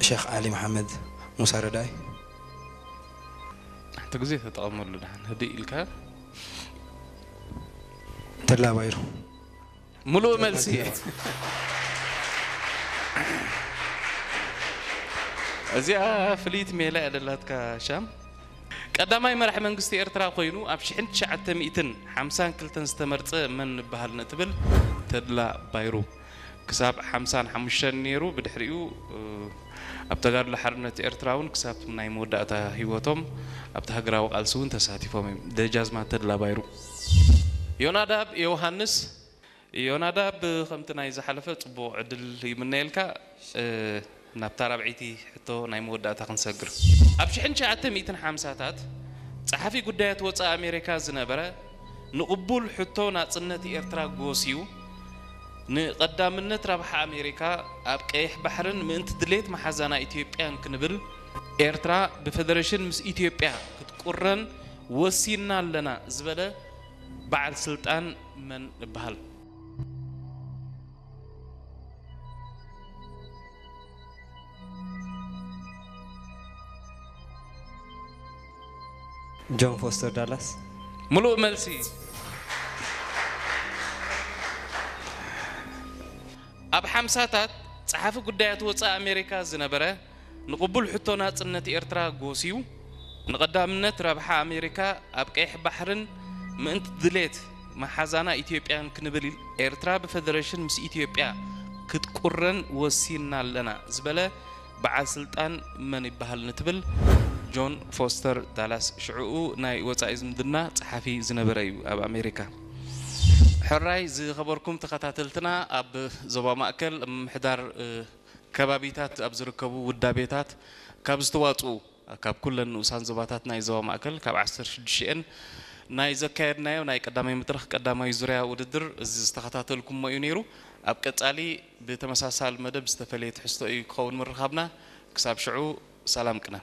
ሸኽ ዓሊ መሓመድ ሙሳ ረዳይ። ሓንቲ ግዜ ተጠቐመሉ ደሓን ህድእ ኢልካ። ተድላ ባይሩ። ሙሉእ መልሲ። እዚኣ ፍልይቲ ሜላ እያ ደላትካ ሻም። ቀዳማይ መራሒ መንግስቲ ኤርትራ ኮይኑ ኣብ ሽሕን ትሽዓተ ሚእትን ሓምሳን ክልተን ዝተመርጸ መን ንበሃል ንትብል ተድላ ባይሩ ክሳብ ሓምሳን ሓሙሽተን ነይሩ። ብድሕሪኡ ኣብ ተጋድሎ ሓርነት ኤርትራ እውን ክሳብ ናይ መወዳእታ ህይወቶም ኣብቲ ሃገራዊ ቃልሲ እውን ተሳቲፎም እዮም። ደጃዝማት ተድላ ባይሩ። ዮናዳብ ዮሃንስ። ዮናዳብ፣ ከምቲ ናይ ዝሓለፈ ጽቡቕ ዕድል ይምነየልካ። ናብታ ራብዐይቲ ሕቶ ናይ መወዳእታ ክንሰግር። ኣብ ሽሕን ትሽዓተ ሚእትን ሓምሳታት ጸሓፊ ጉዳያት ወጻኢ ኣሜሪካ ዝነበረ ንቕቡል ሕቶ ናጽነት ኤርትራ ጎስዩ ንቐዳምነት ረብሓ ኣሜሪካ ኣብ ቀይሕ ባሕርን ምእንቲ ድሌት መሓዛና ኢትዮጵያን ክንብል ኤርትራ ብፈደረሽን ምስ ኢትዮጵያ ክትቁረን ወሲንና ኣለና ዝበለ በዓል ስልጣን መን ይበሃል? ጆን ፎስተር ዳላስ። ሙሉእ መልሲ። ኣብ ሓምሳታት ጸሓፊ ጉዳያት ወጻኢ ኣሜሪካ ዝነበረ ንቕቡል ሕቶ ናጽነት ኤርትራ ጎስዩ ንቐዳምነት ረብሓ ኣሜሪካ ኣብ ቀይሕ ባሕርን ምእንቲ ድሌት መሓዛና ኢትዮጵያን ክንብል ኤርትራ ብፈደረሽን ምስ ኢትዮጵያ ክትቁረን ወሲንና ኣለና ዝበለ በዓል ስልጣን መን ይበሃል ንትብል ጆን ፎስተር ዳላስ ሽዕኡ ናይ ወጻኢ ዝምድና ጸሓፊ ዝነበረ እዩ ኣብ ኣሜሪካ። ሕራይ ዝኸበርኩም ተኸታተልትና ኣብ ዞባ ማእከል ምምሕዳር ከባቢታት ኣብ ዝርከቡ ውዳቤታት ካብ ዝተዋፅኡ ካብ ኩለን ንኡሳን ዞባታት ናይ ዞባ ማእከል ካብ ዓሰርተ ሽዱሽተ ናይ ዘካየድናዮ ናይ ቀዳማይ መድረኽ ቀዳማይ ዙርያ ውድድር እዚ ዝተኸታተልኩሞ እዩ ነይሩ። ኣብ ቀጻሊ ብተመሳሳሊ መደብ ዝተፈለየ ትሕዝቶ እዩ ክኸውን ምርኻብና። ክሳብ ሽዑ ሰላም ቅነ።